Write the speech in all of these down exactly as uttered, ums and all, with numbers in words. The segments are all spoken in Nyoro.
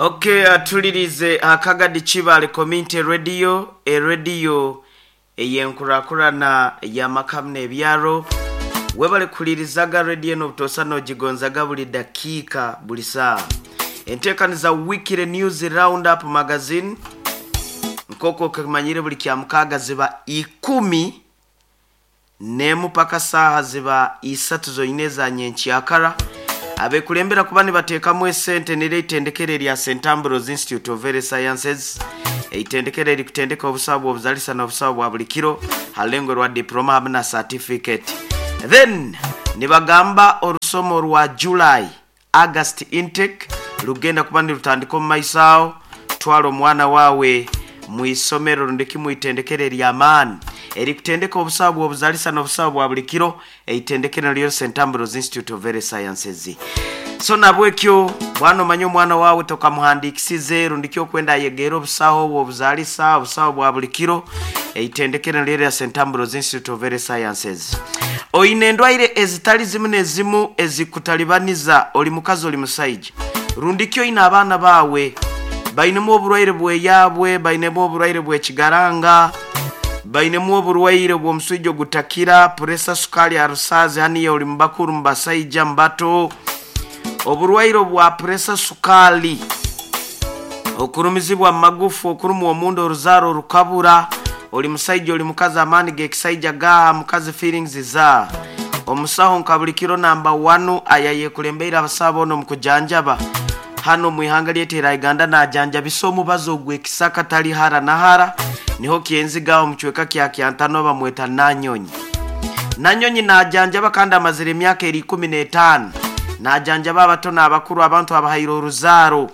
Okay, atulirize Akagadi Kibale Community Radio, erediyo eyenkurakurana y'amakamu n'ebyaro. Webale kulirizaga rediyo n'obutosa n'ogigonzaga buli dakiika, buli saawa. Enteekaniza Weekly News Roundup Magazine, nk'oku okimanyire, buli kya mukaaga ziba ikumi n'emu paka saaha ziba isatu zonyine eza nyenkyakara. Abekulembera kuba nibateekamu esente nira eitendekero erya Saint Ambrose Institute of Health Sciences, eitendekero erikutendeka obusawo bw'obuzalisa n'obusawo bwa buli kiro ha lengo rwa diploma hamwe na certificate. Then nibagamba orusomo rwa July August intake rugenda kuba nirutandika omu maiso aho. Twala omwana wawe mu isomero rundiki mu itendekero ery'amaani erikutendeka obusawo bw'obuzalisa n'obusawo bwa buli kiro, eitendekero ryo Saint Ambrose Institute of Health Sciences. So nabwekyo bwana, omanye omwana wawe tokamuhandikisize rundiki okwenda ayegere obusawo bw'obuzalisa, obusawo bwa buli kiro, eitendekero ryo rya Saint Ambrose Institute of Health Sciences. Oine endwaire ezitali zimu n'ezimu ezikutalibaniza, oli mukazi, oli musaija, rundiki oine abaana bawe bainemu oburwaire bweyabwe, bainemu oburwaire bw'ekigaranga, bainemu oburwaire bw'omuswijo ogutakira, puresa, sukali, arusazi, haniya oli mubakuru, mubasaija, mubato, oburwaire obwa puresa, sukali, okurumizibwa mu magufu, okurumwa omunda, oruzaaro orukabura, oli musaija, oli mukazi, amaani g'ekisaija gaha, mukazi feelings za. Omusaho nka buli kiro namba wanu ayayeekulembeire abasawo boona omu kujanjaba hano mu ihanga lyaitu erya Uganda, najanjabisa omubazi ogw'ekisaka, tali hara na hara, niho kyenzigaho omu kicweka kya Kyantano, bamweta Nanyonyi. Nanyonyi najanjaba kandi amazire emyaka eri ikumi n'etaano najanjaba abato n'abakuru, abantu abahaire oruzaaro,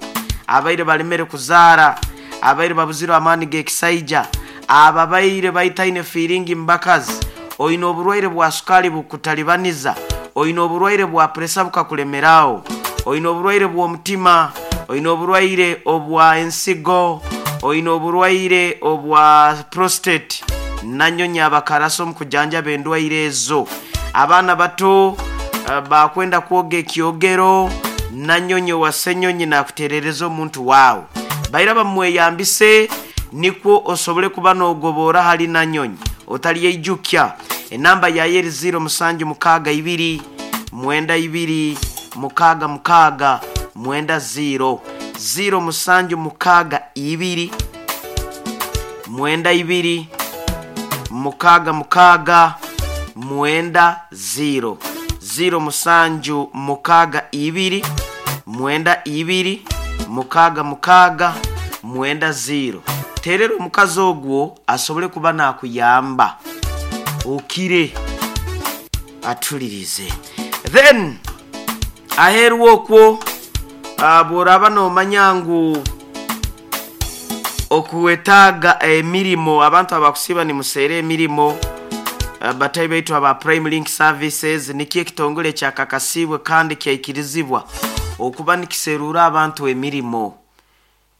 abaire balemere kuzaara, abaire babuzirwe amaani g'ekisaija, ababaire baitaine feeling mu bakazi, oine oburwaire bwa sukali bukutalibaniza, oine oburwaire bwa puresa bukakulemeraho, oine oburwaire bw'omutima, oine oburwaire obwa ensigo, oine oburwaire obwa prostate. Nanyonyi abakarasa omu kujanjaba endwaire ezo. Abaana bato uh, bakwenda kwoga ekyogero, Nanyonyi wa Senyonyi nakuterereza omuntu waawe. Baira bamweyambise nikwo osobole kuba n'ogobora hali Nanyonyi otalyeijukya. Enamba yaye eri ziro musanju mukaaga ibiri mwenda ibiri mukaaga mukaaga mwenda ziro, ziro musanju mukaaga ibiri mwenda ibiri mukaaga mukaaga mwenda ziro, ziro musanju mukaaga ibiri mwenda ibiri mukaaga mukaaga mwenda ziro. Terera omukazi ogwo asobole kuba nakuyamba okire. Atulirize. Then aheeru okwo, uh, bw'oraba noomanya ngu okuwetaaga emirimo, abantu abakusiiba nimuseera emirimo, uh, batayi baitu aba Prime Link Services nikyo ekitongole kyakakasiibwe kandi kyaikirizibwa okuba nikiseruura abantu emirimo.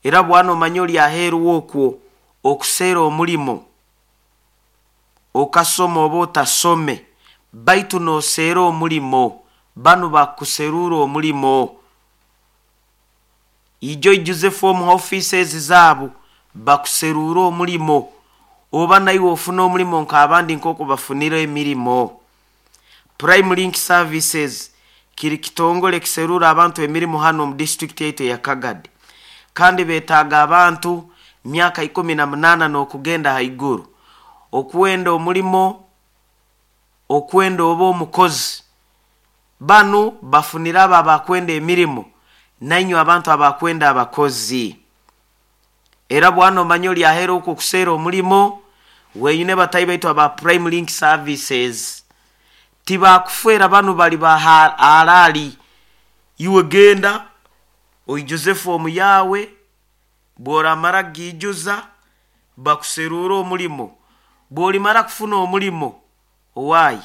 Era bwana omanye oli aheeru okwo okuseera omulimo, okasoma oba otasome, baitu nooseera omulimo, banu bakuseruura omulimo. Ijo ijuze form offices zaabo bakuseruura omulimo, oba naiwe ofuna omulimo nk'abandi nk'oku bafunire emirimo. Prime Link Services kiri kitongole kiseruura abantu emirimu hano omu disitulikiti yaitu eya Kagadi, kandi beetaaga abantu myaka ikumi na munaana n'okugenda haiguru okwenda omulimo, okwenda oba omukozi. Banu bafunire abo abakwenda emirimo nainywe abantu abakwenda abakozi. Era bwana omanye oli aheera okwo okuseera omulimo, weeyune batayi baitu aba Prime Link Services. Tibakufeera, banu bali ba halaali. Iwe genda oijuze foomu yawe, bw'oramara kugiijuza bakuseruura omulimo. Bw'olimara kufuna omulimo, owaaye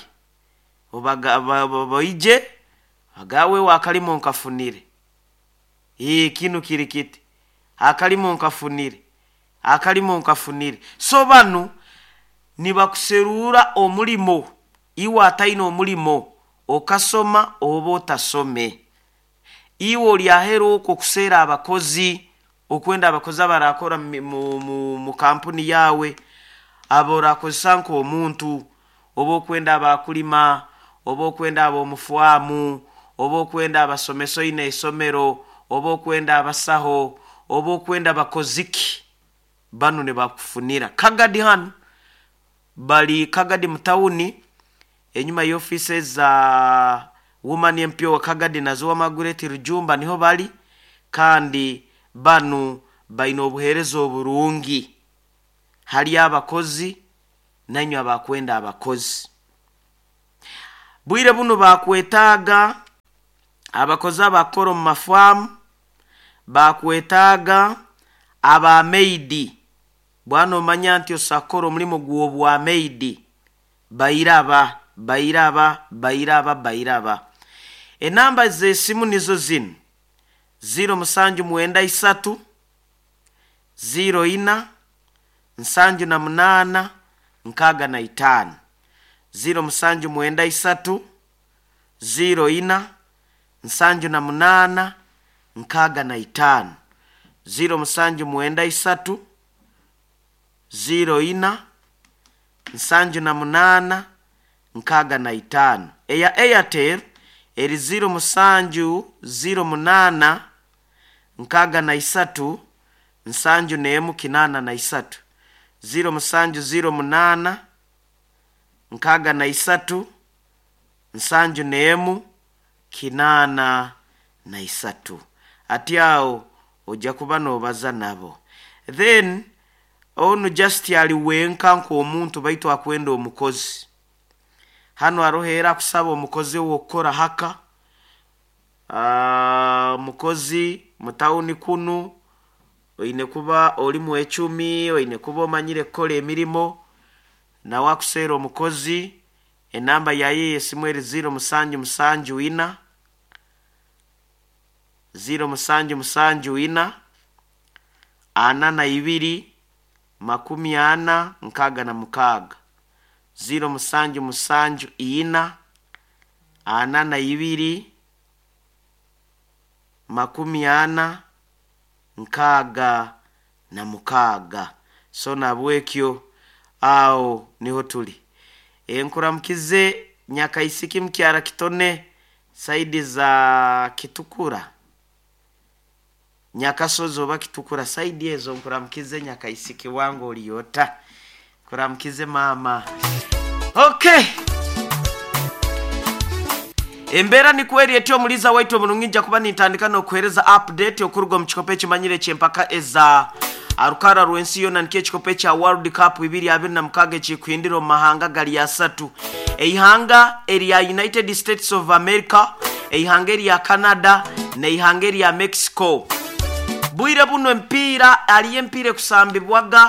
baije agawe akalimo nkafunire, ee kinu kiri kiti, akalimo nkafunire, akalimo nkafunire. So banu nibakuseruura omulimo, iwe ataine omulimo, okasoma oba otasome. Iwe oli aheeru okwo okuseera abakozi. Okwenda abakozi abarakora mu, mu, mu, mu kampuni yawe, abo orakozesa nk'omuntu, oba okwenda abakulima, oba okwenda ab'omufwamu, oba okwenda abasomesa oine isomero, oba okwenda abasaho, oba okwenda bakoziki, banu nibakufunira. Kagadi hanu bali Kagadi mutawuni, enyuma y'ofisi za Woman M P wa Kagadi nazo Margaret Rujumba niho bali, kandi banu baine obuheereza oburungi hali abakozi nanywe abakwenda abakozi. Bwire buno bakwetaaga abakozi abakora omu mafaamu, bakwetaaga abamaidi. Bwana omanya nti osakora omulimu gw'obwamaidi, bairaba bairaba bairaba bairaba. Enamba z'esimu nizo zinu: ziro musanju mwenda isatu ziro ina nsanju na munaana nkaaga na itaano, ziro musanju mwenda isatu ziro ina nsanju na munaana nkaaga na itaano, ziro musanju mwenda isatu ziro ina nsanju na munaana nkaaga na itaano. Eya Airtel eri ziro musanju ziro munaana nkaaga na isatu nsanju n'emu kinaana na isatu, ziro musanju ziro munaana nkaaga na isatu nsanju n'emu kinaana na isatu. Ati aho ojja kuba noobaza nabo. Then onu just ali wenka nk'omuntu, baitu akwenda omukozi. Hano haroho era akusaba omukozi ow'okukora haka, omukozi mutawuni kunu, oine kuba oli mwecumi, oine kuba omanyire kukora emirimo. Nawe akuseera omukozi. Enamba yaye y'esimu eri ziro musanju musanju ina, ziro musanju musanju ina ana na ibiri makumi ana nkaaga na mukaaga, ziro musanju musanju ina ana na ibiri makumi ana nkaaga na mukaaga. So nabwekyo aho niho tuli. Enkuramukize Nyakaisiki mukyara Kitone, side za Kitukura, Nyakasozi oba Kitukura, side ezo. Nkuramukize Nyakaisiki wange, oliyota nkuramukize mama. Okay, embeera nikweri etyo. Omuliza waitu omurungi, nja kuba nintandika n'okuheereza update okuruga omu kikopo ekimanyire ekyempaka eza arukara rw'ensi yona, nikyo ekikopo ekya World Cup ibiri abiri na mukaaga ekikuhindira omu mahanga gali asatu: eihanga erya United States of America, eihanga erya Canada n'eihanga erya Mexico. Bwire buno empiira aliyo, empiira ekusambibwaga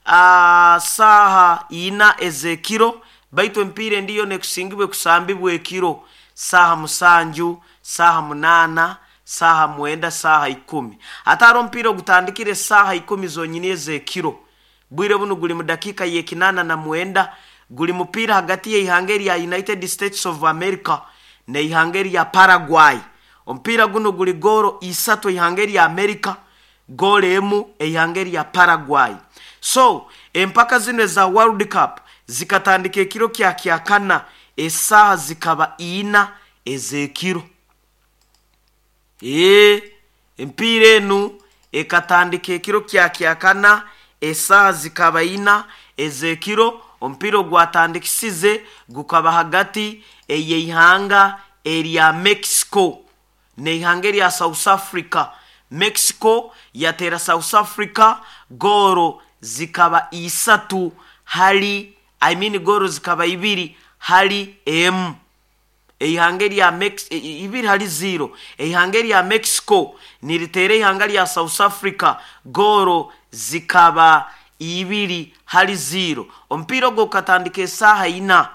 uh, saaha ina ez'ekiro, baitu empiira endiyo nekusingibwa ekusambibwa ekiro saaha musanju, saaha munaana, saaha mwenda, saaha ikumi. Ate hariho omupiira ogutandikire saaha ikumi zonyini ez'ekiro. Bwire buno guli mu dakiika y'ekinaana na mwenda. Guli mupiira hagati y'eihanga erya United States of America n'eihanga erya Paraguay. Omupiira guno guli goolo isatu eihanga erya America, goolo emu eihanga erya Paraguay. So empaka zino eza World Cup zikatandika ekiro kya kyakana, esaaha zikaba ina ez'ekiro. Ee, empiira enu ekatandika ekiro kya kyakana, esaaha zikaba ina ez'ekiro. Omupiira ogwatandikisize gukaba hagati ey'eihanga erya Mexico n'eihanga erya South Africa. Mexico yateera South Africa gooro zikaba isatu hali, I mean, gooro zikaba ibiri hali emu, eihanga erya Mex- ibiri hali zero. Eihanga erya Mexico niriteera eihanga lya South Africa gooro zikaba ibiri hali zero. Omupiira ogwo gukatandika esaaha ina.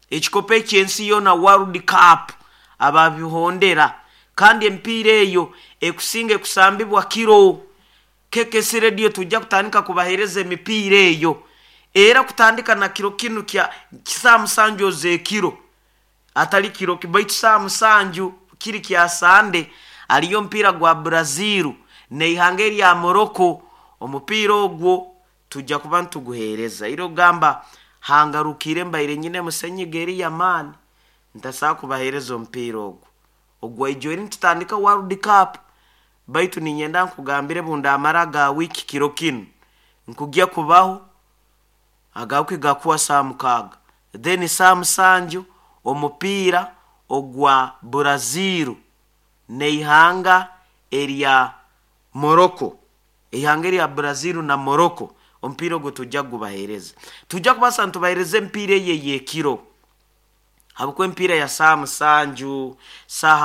Ekikopo ekyensi yoona, World Cup, ababihondera, kandi emipiira eyo ekusinga ekusambibwa kiro. K K C Radio tujja kutandika kubaheereza emipiira eyo era kutandika na kiro kinu kya saa musanju ez'ekiro, atali kiro baitu saa musanju kiri kya Sande. Aliyo omupiira gwa Brazil. Neihanga erya Morocco, omupiira ogwo tujja kuba nituguheereza. Ira ogamba hangarukire mbaire nyine musenyiga eri yamaani, ntasobola kubaheereza omupiira ogwo ogwaijo eri nitutandika World Cup. Baitu ninyenda nkugambire, bundamara ga wiiki kiro kinu nkugya kubaho aga wiki gakuwa saa mukaaga, then saa musanju omupiira ogwa Brazil neihanga erya Morocco, ihanga erya Brazil na Morocco, omupiira ogwo tujja kugubaheereza. Tujja kubaasa nitubaheereza emipiira eyo ey'ekiro, habwokuba emipiira ya saa musanju, saaha